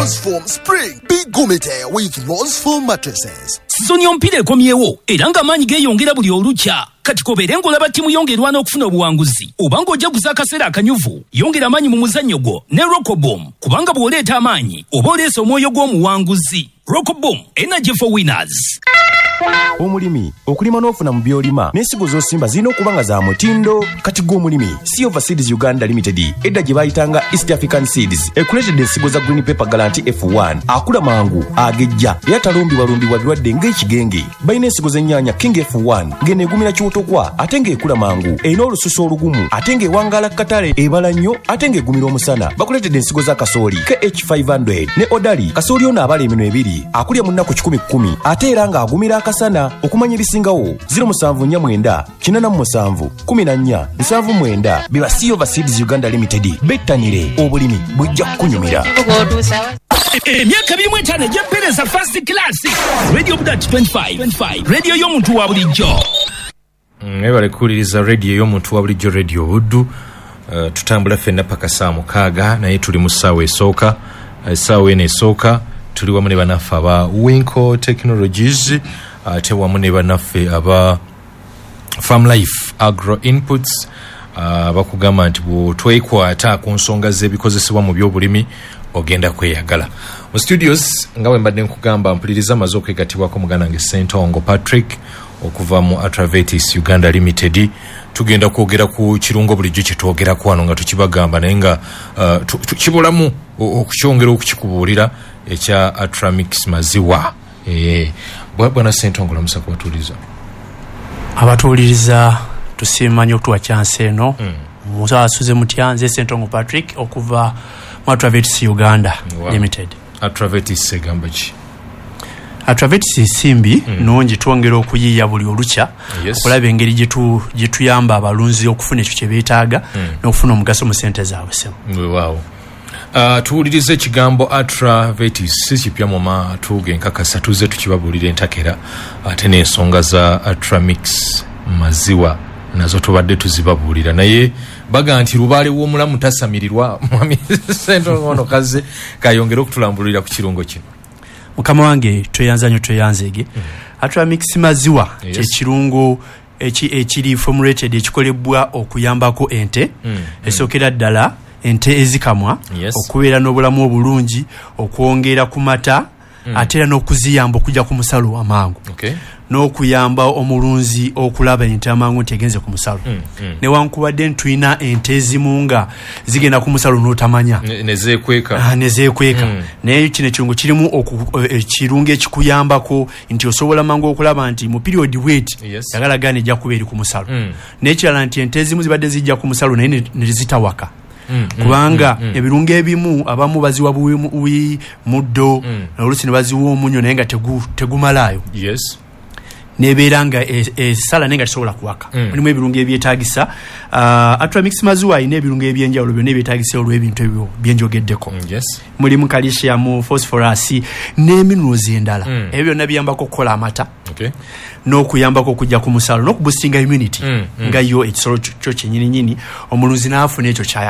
Rose Spring. Be Gumite with Rose Foam mattresses. Sizoni y'omupiira ekomyewo era ng'amaanyi geeyongera buli olukya. Kati kobeere ng'olaba ttiimu yo ng'erwana okufuna obuwanguzi oba ng'ojaguza akaseera akanyuvu, yongera amaanyi mu muzannyo gwo ne Rockobom, kubanga bw'oleeta amaanyi oba oleese omwoyo gw'omuwanguzi. Rockobom, energy for winners. Omulimi okulima n'ofuna mu by'olima n'ensigo z'osimba zirina okuba nga za mutindo. Kati gwe omulimi, Silver Seeds Uganda Limited, edda gye bayitanga East African Seeds, ekuleetedde ensigo za Green Pepper Guarantee F1, akula mangu, agejja era talumbibwalumbibwa birwadde ng'ekigenge. Balina ensigo z'ennyaanya King F1, ng'eno egumira kiwotokwa ate ng'ekula mangu, erina olususu olugumu ate ng'ewangaala ku katale, ebala nnyo ate ng'egumira omusana. Bakuleetedde ensigo za kasooli KH500 ne Odali. Kasooli ono abala eminwe ebiri, akulya mu nnaku 110 ate era ng'agumira akasana. Okumanya ebisingawo, 0749 87 14 79. Biba Silver Seeds Uganda Limited. Bettanire obulimi, bujja kukunyumira. Emyaka 25 egy'empeereza first class. Radio Budat 25 25, radio y'omuntu wa bulijjo. Mwebale kuwuliriza radio y'omuntu wa bulijjo, Radio Buddu. Tutambula ffenna paka saa 6, naye tuli mu ssaawa esooka. Essaawa eno esooka tuli wamu ne bannaffe aba Winco Technologies, ate wamu ne bannaffe aba Farm Life Agro Inputs. Bakugamba nti bw'otwekwata ku nsonga z'ebikozesebwa mu byobulimi ogenda kweyagala. Mu studios, nga bwe mbadde nkugamba, mpuliriza, amaze okwegattibwako muganda wange Sentongo Patrick okuva mu Atravetis Uganda Limited. Tugenda kwogera ku kirungo bulijjo kyetwogerako wano nga tukibagamba, naye nga kibulamu okukyongera okukikubuulira, ekya Atramix maziwa. Bwana Sentongo, lamusa kubatuuliza. Abatuwuliriza, tusiima nnyo okutuwa chance eno. Musasuze mutya? Nze Sentongo Patrick okuva mu Atravetis Uganda Limited. Atravetis egamba ki? Atravetis nsimbi nungi, twongera okuyiiya buli olukya okulaba engeri gyetuyamba abalunzi okufuna ekyo kye beetaaga n'okufuna omugaso mu sente zaabwe, sebo. Weewaawo. Tuwulirize ekigambo Atravetis si kipya mu matu genkakasa, tuzze tukibabuulira entakera, ate n'ensonga za Atramix maziwa nazo tubadde tuzibabuulira, naye baga nti lubaale w'omulamu tasamirirwa. Mwami Sentongo ono kaze kayongere okutulambululira ku kirungo kino. Mukama wange, tweyanza nnyo, tweyanzeege. Atramix maziwa kyekirungo ekiri formulated, ekikolebwa okuyambako ente, esookera ddala ente ezikamwa, okubeera n'obulamu obulungi, okwongera ku mata, ate era n'okuziyamba okujja ku musalo amangu, n'okuyamba omulunzi okulaba ente amangu nti egenze ku musalo, newankubadde ntulina ente ezimu nga zigenda ku musalo n'otamanya. Nezeekweka. Nezeekweka. Naye kino ekirungo kirimu ekirungo ekikuyambako nti osobola mangu okulaba nti mu period bweti yagala gaana ejja kuba eri ku musalo. N'ekirala nti ente ezimu zibadde zijja ku musalo naye ne zitawaka, kubanga ebirungo ebimu abamu baziwa buwi muddo, oluusi ne baziwa omunyo, naye nga tegumalaayo, nebeera nga esala naye nga tesobola kuwaka. Mulimu ebirungo ebyetagisa. Atramix maziwa alina ebirungo ebyenjawulo byonna ebyetagisa olw'ebintu ebyo byenjogeddeko. Mulimu calcium, phosphorus ne minerals endala. Ebyo byonna biyambako okukola amata n'okuyambako okujja ku musalo n'okuboostinga immunity, nga yo ekisolo kyo kyenyininyini, omulunzi n'afuna ekyo kyayagala.